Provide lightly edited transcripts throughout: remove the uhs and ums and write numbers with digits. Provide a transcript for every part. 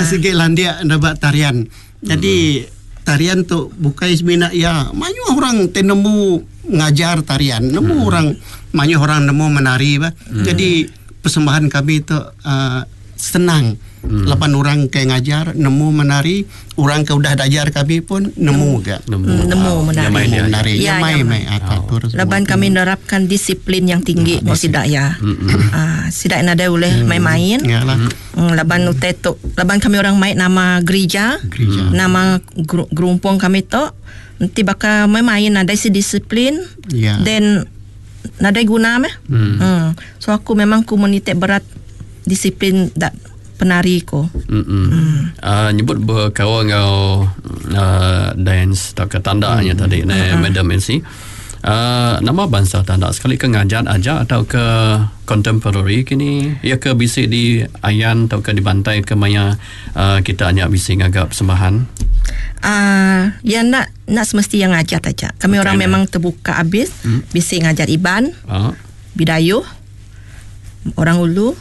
Sigi landik neba tarian. Jadi tarian tu bukai semina iya mayuh orang ti nemu ngajar tarian, nemu orang mayuh orang nemu menari bah. Jadi persembahan kami tu uhh senang laban orang ke ngajar nemu menari, orang ke udah diajar kami pun nemu ga. Nemu Nemu menari. Menari. Ya, Nyamai nyamai. meh atur semua. Laban kami nerapkan disiplin yang tinggi enggau sida iya. Uhh sida nadai ulih main-main. Ya lah. Laban utai tu laban kami orang mai nama gerija, Gerija. nama gerumpung kami tu enti baka main-main nadai si disiplin Ya. then nadai guna meh. Uhh so aku memang ku menitik berat disiplin da penari ku. Mm. Nyebut bekaul enggau uhh dance tauka tanda nya tadi neh Madam Nancy. Aaa nama bansa tanda sekali ke ngajat aja tauka contemporary kini iya ke bisi di ayan tauka dibantai ke maya aaa kita nya bisi ngaga persembahan. Aaa iya enda enda semesti iya ngajat aja. Kami orang memang terbuka abis bisi ngajat Iban, Bidayuh, Orang Ulu,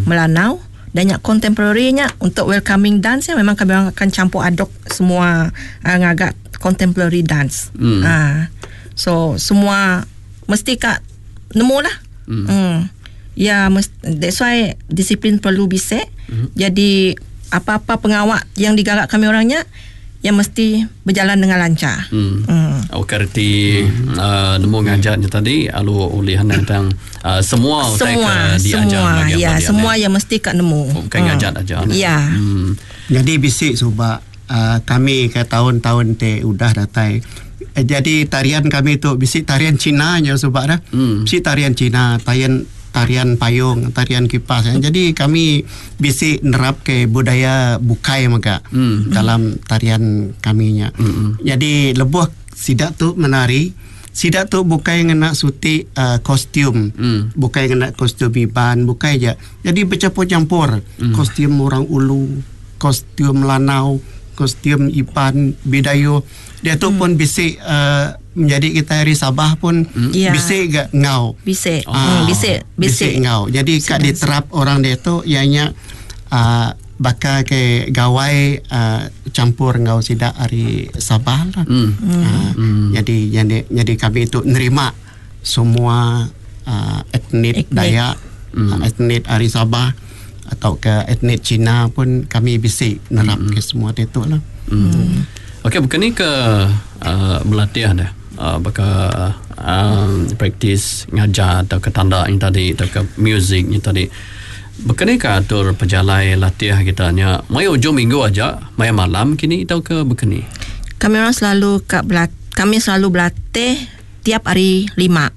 Melanau dan nya contemporary nya untuk welcoming dance nya memang kami orang akan campur aduk semua aaa ngaga contemporary dance. Aaa so semua mesti ka nemu lah. Uhh ya that's why disiplin perlu bisi jadi apa-apa pengawa yang digaga kami orang nya yang mesti berjalan dengan lancar. Uhh okay reti aaa nemu ngajar nya tadi lalu ulih nentang aaa semua utai ke diajar Semua ya semua yang mesti ka nemu. Bukan ngajar aja. Ya. Nyadi bisi suba Kami ke taun-taun ti udah datai. Jadi tarian kami tu bisi tarian Cina nya suba dah. Bisi tarian Cina, tarian tarian payung, tarian kipas. Jadi kami bisi nerap ke budaya bukai mega dalam tarian kami nya. Jadi lebuh sida tu menari, sida tu bukai ngena suti uhh kostum, bukai ngena kostum Iban, bukai ja. Jadi bechampur-champur kostum orang ulu. Kostum Melanau, kostum Iban, Bidayuh. Diatu pun bisi uhh menyadi kitai ari Sabah pun bisi ga enggau. Bisi. Uhh bisi. Bisi enggau. Jadi ka diterap orang diatu iya nya uhh baka ke gawai uhh champur enggau sida ari Sabah lah. Uhh jadi nyadi kami tu nerima semua uhh etnik Dayak, etnik ari Sabah tauka etnik Cina pun kami bisi nerap ke semua ti tu lah. Okey baka ni ke uhh belatih deh uhh baka uhh praktis ngajar tauka tanda nya tadi tauka music nya tadi. Baka ni ka atur pejalai latih kita nya maya ujung minggu aja maya malam kini tauka baka ni? Kami orang selalu ka kami selalu belatih tiap hari lima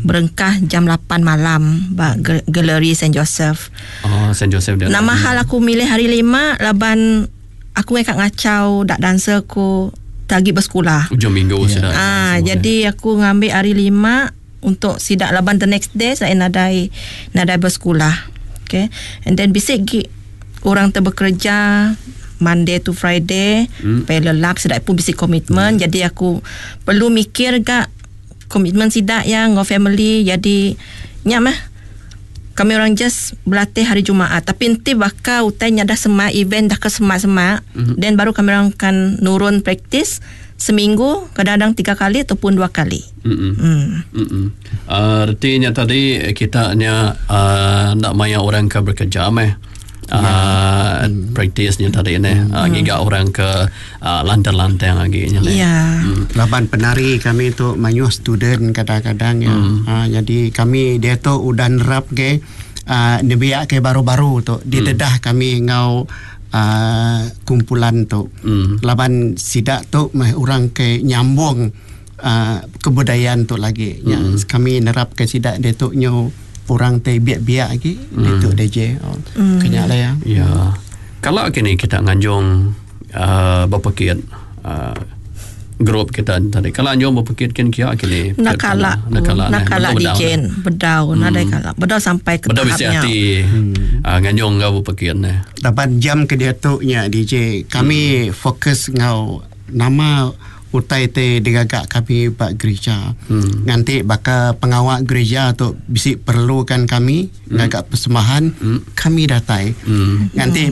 berengkah jam lapan malam ba galeri Saint Joseph. Oh, Saint Joseph dia. Nama hal aku milih hari lima laban aku ngai ka ngachau dak dancer ku ti agi besekula. Ujung minggu yeah. sida. Ah, jadi aku ngambi hari lima untuk sida laban the next day saya nadai nadai besekula. Okay. And then bisi gi orang ti bekereja Monday to Friday pay lelap sida pun bisi komitmen jadi aku perlu mikir ga komitmen sida iya enggau family jadi nya meh kami orang just belatih hari Jumaat tapi enti baka utai nya dah semak event dah ke semak-semak then baru kami orang akan nurun praktis seminggu kadang-kadang tiga kali ataupun dua kali. Emm. Reti nya tadi kita nya uhh enda maya orang ke bekerja meh uhh praktis nya tadi neh ngiga orang ke uhh lantang-lantang agi nya neh. Laban penari kami tu mayuh student kadang-kadang iya. Jadi kami diatu udah nerap ke uhh nembiak ke baru-baru tu didedah kami enggau uhh kumpulan tu. Laban sida tu meh orang ke nyambung Kebudayaan tu lagi nya kami nerap ke sida ditu nyu orang ti biak-biak agi ditu DJ ke nya lah iya. Ya. Kala kini kita nganjung uhh bepekit uhh group kita tadi kala anjung bepekit kin kia kini. Enda kala. Enda kala. Enda kala DJ bedau nadai kala. Bedau sampai ke Bedau tahap bisi nya. ati uhh nganjung enggau bepekit neh. Laban jam ke diatu nya DJ kami fokus enggau Nama utai ti digaga kami ba gerija. Nganti baka pengawa gerija tu bisi perlukan kami ngaga persembahan, kami datai. Nganti.